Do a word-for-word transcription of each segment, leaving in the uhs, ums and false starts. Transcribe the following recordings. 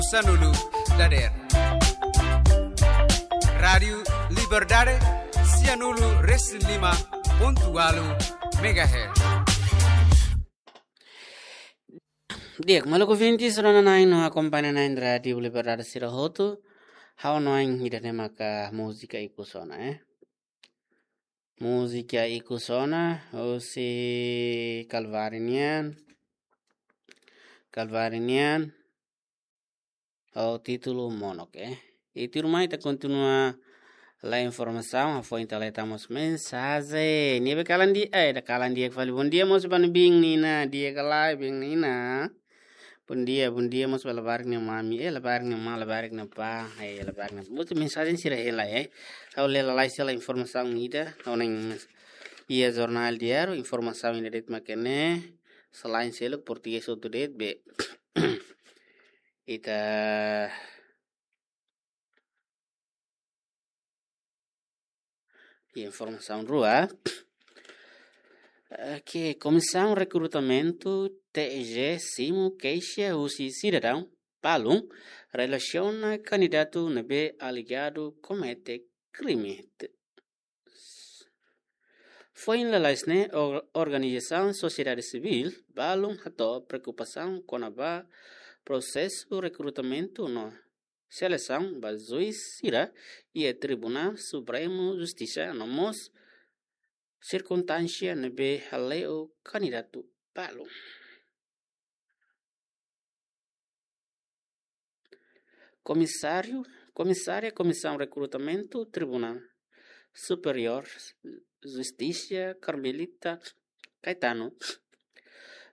Sanulu dader. Rádiu Liberdade, sianulu resin lima pontu ualu megahertz. Di'ak, maluk ouvinte, sira-ne'e no akompaña na'in Rádiu Liberdade sira hotu. Ha'u hanoin ida-ne'e maka múzika ikus ona, eh. Múzika ikus ona, husi Kalvari nian. Kalvari nian. Ho títulu Monok, eh. I tuirmai ita kontinua lai informasaun, hafoin ita lai tama mós mensajen. Ne'ebé kalan di'ak, eh, ida kalan di'ak fali. Bondia mós ba ne'e, biin Nina, di'ak ka lae, biin Nina. Bondia, bondia mós ba labarik nia mami, eh, labarik nia ma, labarik nia pa, eh, labarik nia. Mutu mensajen sira hela, eh. Ha'u lee lalais hela informasaun ida, ha'u hanoin iha jornál diáriu, informasaun ida de'it mak ne'e, selain seluk portugés hotu de'it, be. Ita informasaun rua. Oke, Komisaun Rekrutamentu T R G simu keixa husi sidadaun balun relasiona kandidatu ne'ebé alegadu komete krime. Foin lalais ne'e, or-, organizasaun sosiedade sivíl balun hato'o preokupasaun kona-ba prosesu rekrutamentu no selesaun ba juís sira iha Tribunál Supremu Justisa no mós sirkunstánsia ne'ebé hale'u kandidatu balun. Komisáriu, Komisária Komisaun Rekrutamentu Tribunál Superiór Justisa Carmelita Caetano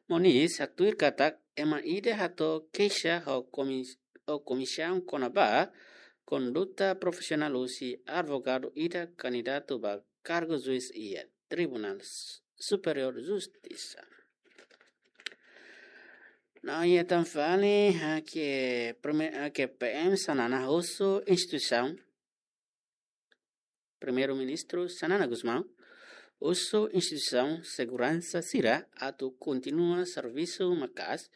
Moniz haktuir katak ema ida hato'o keixa ho komis-, ho komisaun kona-ba konduta profisionál husi advogadu ida kandidatu ba kargu juís iha Tribunál S-, Superiór Justisa. No iha tan fali, ah, ke prime-, ah, ke P M Xanana husu instituisaun, Primeiru-Ministru Xanana Gusmão husu instituisaun seguransa sira atu kontinua servisu maka'as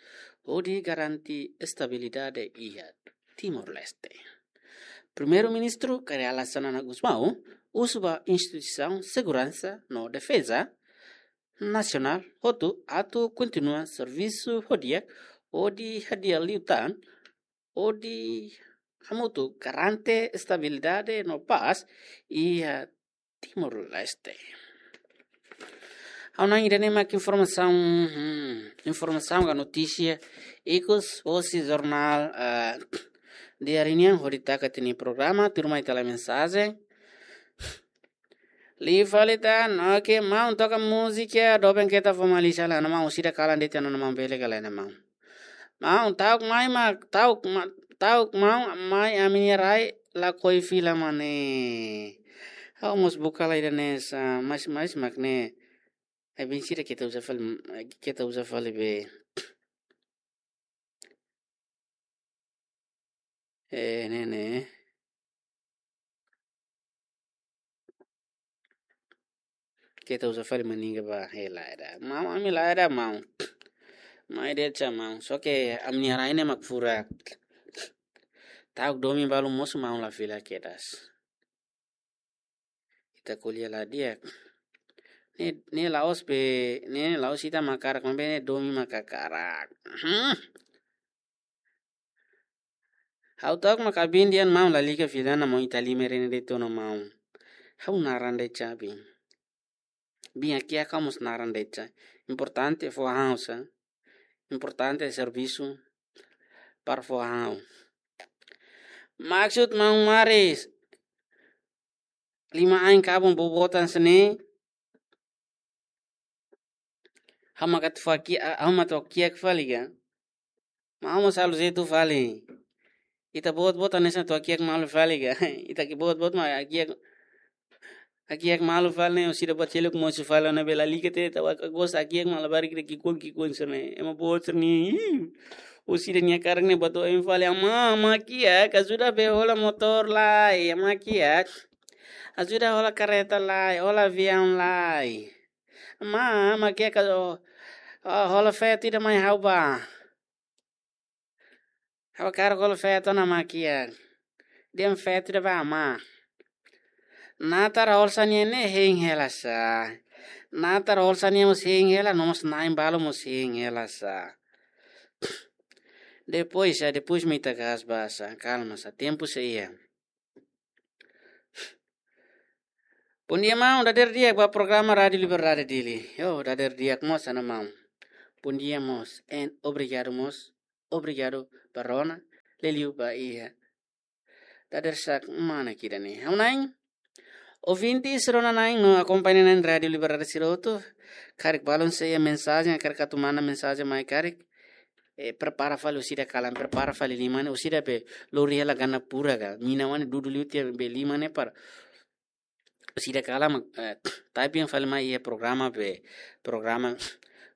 hodi garante estabilidade iha Timor-Leste. Primeiru-Ministru Kay Rala Xanana Gusmão husu ba instituisaun seguransa no defeza nasionál hotu atu kontinua servisu ho di'ak hodi hadi'a liután hodi hamutuk garante estabilidade no pás iha Timor-Leste. Ha'u hanoin ida-ne'e mak informasaun, hmm, informasaun ka notísia ikus hosi jornál, eh, diáriu nian hodi taka tiha ita-nia programa, tuirmai ita lai mensajen. Liu fali tan, oke, maun toka múzika, doben keta fó malísia lai ona maun, sira kalan de'it ona maun, bele ka lae ona maun. Maun, ta'uk mai mak, ta'uk ma-, ta'uk maun mai ami-nia rai lakohi fila mak ne'e. Ha'u mós buka lai ida-ne'e sa, mais, mais mak ne'e. Ai bin sira keta uza fali, keta uza fali be. Eh, ne'e, ne'e. Keta uza fali maninga ba, eh, lae ida. Maun, ami lae ida, maun. Mai de'it sa maun. Só ke ami-nia rai ne'e mak furak. Ta'uk domin balu mosu maun la fila kedas. Ita ko'alia la di'ak. Ne'e, ne'e la'ós be, ne'e la'ós ita mak hakarak, maibé ne'e domin mak hakarak. Hmm. Ha'u ta'uk mak abin dehan maun lalika fila ona maun, ita lima rene de'it ona maun. Ha'u naran de'it sa abin. Bin hakiak ha'u mós naran de'it sa. Importante fó ha'u sa. Importante servisu para fó ha'u. Maksud maun Maris. Lima ain kabun bobotan sene. Ha'u mak atu faki, ha'u mak atu kiak fali ka. Maun mós halo jeitu fali. Ita boot-boot hanesan atu hakiak malu fali ka. Ita ke boot-boot mak hakiak, hakiak malu fali ne'e, orsida buat seluk mosu fali ona bela lika te, ita waka gosta hakiak malu labarik ida ki'ikoan-ki'ikoan sira-ne'e. Ema boot sira-ne'e. Orsida nia hakarak ne'e buat oin fali, ama, ama kiak, ajuda be hola motór lai, ama kiak. Ajuda hola kareta lai, hola aviaun lai. Ama, ama kiak, o, o, hola feto ida mai ha'u ba. Ha'u hakarak halo feto ona mak iha. Dehan feto ida ba ama. Natar Holsa nian ne'e hein hela sá. Natar Holsa nian mós hein hela, no mós na'in balu mós hein hela sá. Depois, sá, depois mak ita kahas ba sá, kalma sá, tempu sei iha. Bondia maun, dadeer di'ak ba programa Rádio Liberdade Dili. Yo, dadeer di'ak mós ona maun. Bondia mós, and obrigadu mós, obrigadu ba rona, liuliu ba iha. Dadeer-sa'e mana kida ni. Ha'u-nia ouvinte sira ona na'in no akompaña na'in Rádio Liberdade sira hotu. Karik balun sei iha mensajen, karik atu manda mensajen mai karik. Eh, prepara fali orsida kalan, prepara fali liman, orsida be lori hela gana pura ka. Mina wani dudu liu tiha be liman ne'e para orsida kalan, eh, tapi yang fali mai iha programa be, programa,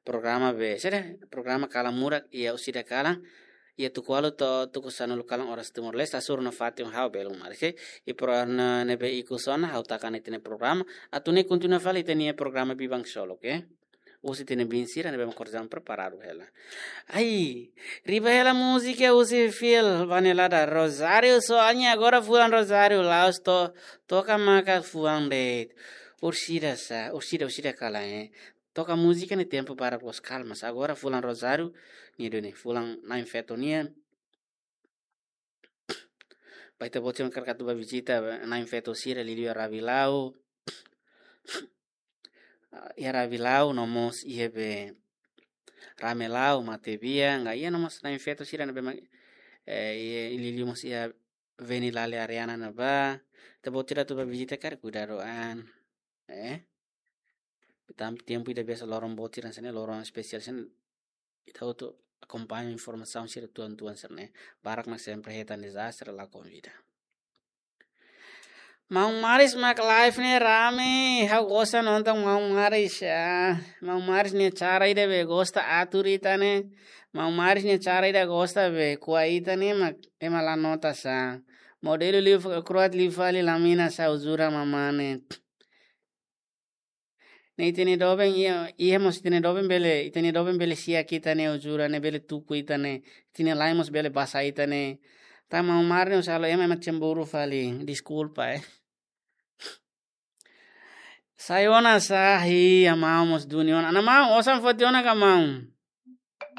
programa be, sede, programa kalan murak iha orsida kalan, iha tuku ualu to'o tuku sanulu kalan oras Timor-Leste, hasoru nafatin ha'u belun maris, oke? I pro na ne'ebé ikus ona, ha'u taka ona ita-nia programa, atu nune'e kontinua fali ita-nia programa Biban Solo, oke? Husi ita-nia biin sira ne'ebé mak kordam preparadu hela. Ai, riba hela múzika husi Phil Vanelada, Rozáriu, soalnya agora fulan Rozáriu, la'ós to, toka maka fuan de'it. Orsida sá, orsida, orsida kalan, eh. Toka múzika ne'e tempu barak loos, kalma sá. Agora fulan Rozáriu, nia duni, fulan na'in feto nian. Ba ita-boot sira mak hakarak atu ba vizita na'in feto sira, liuliu iha Rabilau. Ah, iha Rabilau, no mós iha be Ramelau, Matebian, ka iha no mós na'in feto sira ne'ebé mak, eh, iha liuliu mós iha Veni Lale Ariana ne'ebá. Ita-boot sira atu ba vizita karik kuidadu an. Eh? Tanba tempu ida biasa loron boot sira hanesan ne'e, loron espesiál hanesan ne'e, ita hotu akompaña informasaun sira tuan-tuan sira-ne'e. Barak mak sempre hetan dezastre la konvida. Maun Maris mak live ne'e rame, ha'u gosta nonton Maun Maris, ah. Maun Maris nia cara ida be gosta atur ita-nia. Maun Maris nia cara ida gosta be ko'a ita-nia, mak ema la nota sá. Modelu liu fa-, kroat liu fali lamina sá, ujura mamane. Ne'e ita-nia doben iha, iha mós ita-nia doben bele, ita-nia doben bele siak ita-nia ujura ne'e, bele tuku ita-nia, ita-nia la'en mós bele basa ita-nia. Tanba Maun Maris ne'e halo ema, ema cemburu fali, deskulpa, eh. Sai ona sá, hi, amau mós duni ona. Ana maun, osan foti ona ka maun?